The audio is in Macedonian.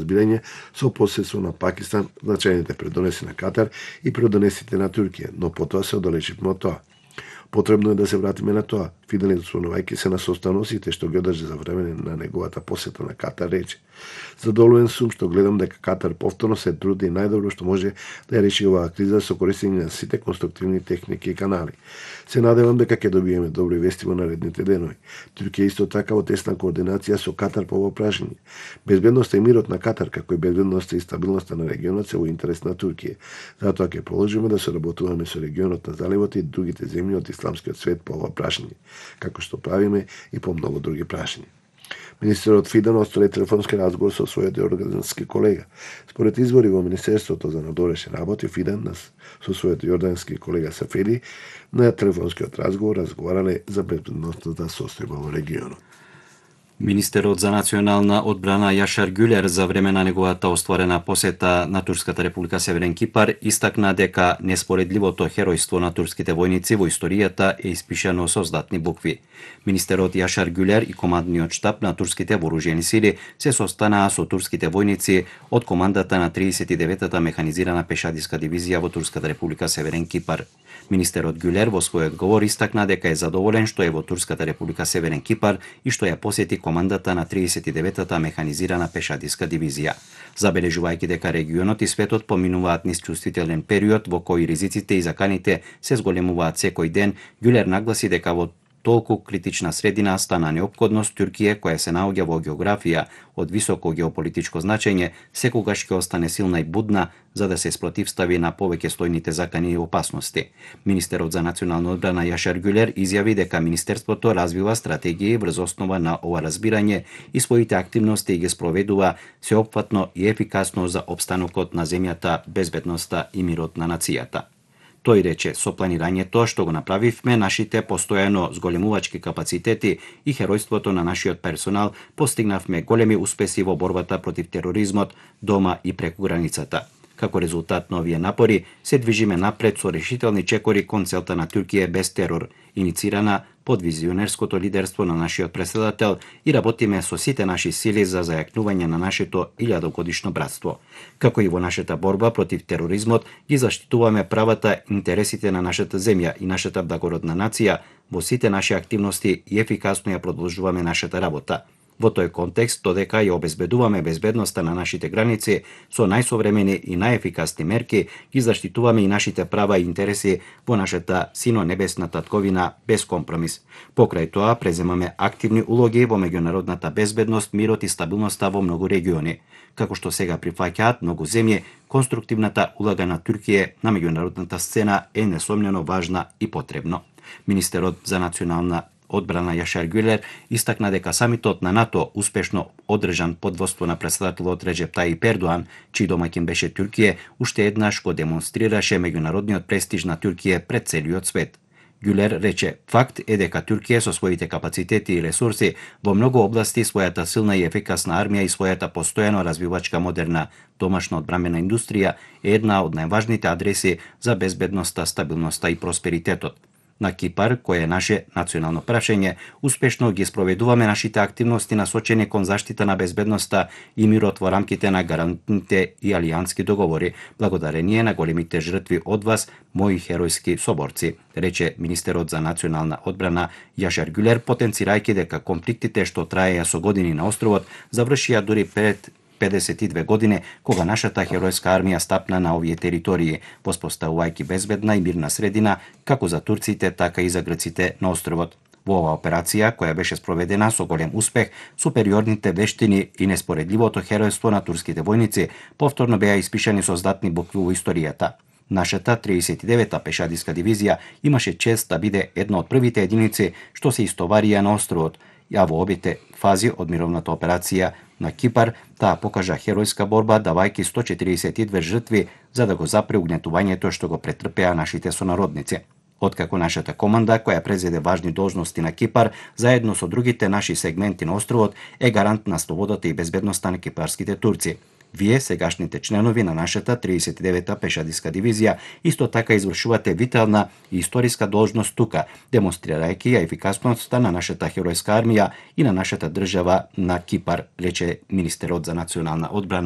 разбирање со посредство на Пакистан, значајните придонеси на Катар и придонесите на Туркија, но потоа се оддалечивме од тоа. Потребно е да се вратиме на тоа. Фиделин, спомнувајќи се на состаноците што ги одржи за време на неговата посета на Катар, рече: "Задоволен сум што гледам дека Катар повторно се труди најдобро што може да ја реши оваа криза со користење на сите конструктивни техники и канали. Се надевам дека ќе добиеме добри вести во наредните денови. Туркија исто така во тесна координација со Катар по ова прашање. Безбедноста и мирот на Катар, како и безбедноста и стабилноста на регионот се во интерес на Туркија. Затоа ќе продолжиме да соработуваме со регионот на заливот и другите земји од исламскиот свет по ова прашање, како што правиме и по многу други прашања." Министерот Фидан остаре телефонски разговор со својот јордански колега. Според извори во Министерството за надворешни работи, Фидан со својот јордански колега Сафеди на телефонскиот разговор разговарале за безбедносната состојба во регионот. Министерот за национална одбрана Јашар Гюлер за време на неговата остварена посета на Турската република Северен Кипар истакна дека неспоредливото херојство на турските војници во историјата е испишано со златни букви. Министерот Јашар Гюлер и командниот штаб на турските вооружени сили се состанаа со турските војници од командата на 39-та механизирана пешадиска дивизија во Турската република Северен Кипар. Министерот Гюлер во својот говор истакна дека е задоволен што е во Турската република Северен Кипар и што ја посети командата на 39-та механизирана пешадиска дивизија. Забележувајќи дека регионот и светот поминуваат низ чувствителен период во кој ризиците и заканите се зголемуваат секој ден, Гюлер нагласи дека во толку критична средина стана неопходност Туркија, која се наоѓа во географија од високо геополитичко значење, секогаш ќе остане силна и будна за да се спротивстави на повеќе слојните закани и опасности. Министерот за национална одбрана Јашар Гюлер изјави дека Министерството развива стратегии врз основа на ова разбирање и своите активности ги спроведува сеопфатно и ефикасно за опстанокот на земјата, безбедноста и мирот на нацијата. Тој рече, со планирањето што го направивме, нашите постојано зголемувачки капацитети и херојството на нашиот персонал, постигнавме големи успеси во борбата против тероризмот дома и преку границата. Како резултат на овие напори, се движиме напред со решителни чекори кон целта на Туркија без терор, иницирана под визионерското лидерство на нашиот претседател и работиме со сите наши сили за зајакнување на нашето 1000-годишно братство. Како и во нашата борба против тероризмот, ги заштитуваме правата и интересите на нашата земја и нашата благородна нација, во сите наши активности и ефикасно ја продолжуваме нашата работа. Во тој контекст, додека ја обезбедуваме безбедноста на нашите граници со најсовремени и најефикасни мерки, ги заштитуваме и нашите права и интереси во нашата сино-небесна татковина без компромис. Покрај тоа, преземаме активни улоги во меѓународната безбедност, мирот и стабилноста во многу региони. Како што сега прифаќаат многу земји, конструктивната улога на Туркија на меѓународната сцена е несомнено важна и потребно. Министерот за национална одбрана Јашар Гюлер истакна дека самитот на НАТО, успешно одржан под водство на претседателот Реджеп Тајип Ердоан, чиј домаќин беше Туркија, уште еднаш го демонстрираше меѓународниот престиж на Туркија пред целиот свет. Гюлер рече, факт е дека Туркија со своите капацитети и ресурси во многу области, својата силна и ефикасна армија и својата постојано развивачка модерна домашна одбрамбена индустрија е една од најважните адреси за безбедноста, стабилноста и просперитетот. На Кипар, кој е наше национално прашање, успешно ги спроведуваме нашите активности насочени кон заштита на безбедноста и мирот во рамките на гарантните и алијански договори, благодарение на големите жртви од вас, мои херојски соборци, рече министерот за национална одбрана Јашар Гюлер, потенцирајќи дека конфликтите што траеја со години на островот завршија дури пред 52 години, кога нашата херојска армија стапна на овие територии, воспоставувајќи безбедна и мирна средина, како за турците, така и за грците на островот. Во оваа операција, која беше спроведена со голем успех, супериорните вештини и неспоредливото херојство на турските војници повторно беа испишани со златни букви во историјата. Нашата 39-та пешадиска дивизија имаше чест да биде една од првите единици што се истоварија на островот, ја во обите фази од мировната операција на Кипар, таа покажа херојска борба, давајќи 142 жртви за да го запре угнетувањето што го претрпеа нашите сонародници. Откако нашата команда, која презеде важни должности на Кипар, заедно со другите наши сегменти на островот, е гарант на слободата и безбедноста на кипарските турци. Вие, сегашните членови на нашата 39-та пешадиска дивизија, исто така извршувате витална и историска должност тука, демонстрирајќи ја ефикасноста на нашата херојска армија и на нашата држава на Кипар, рече министерот за национална одбрана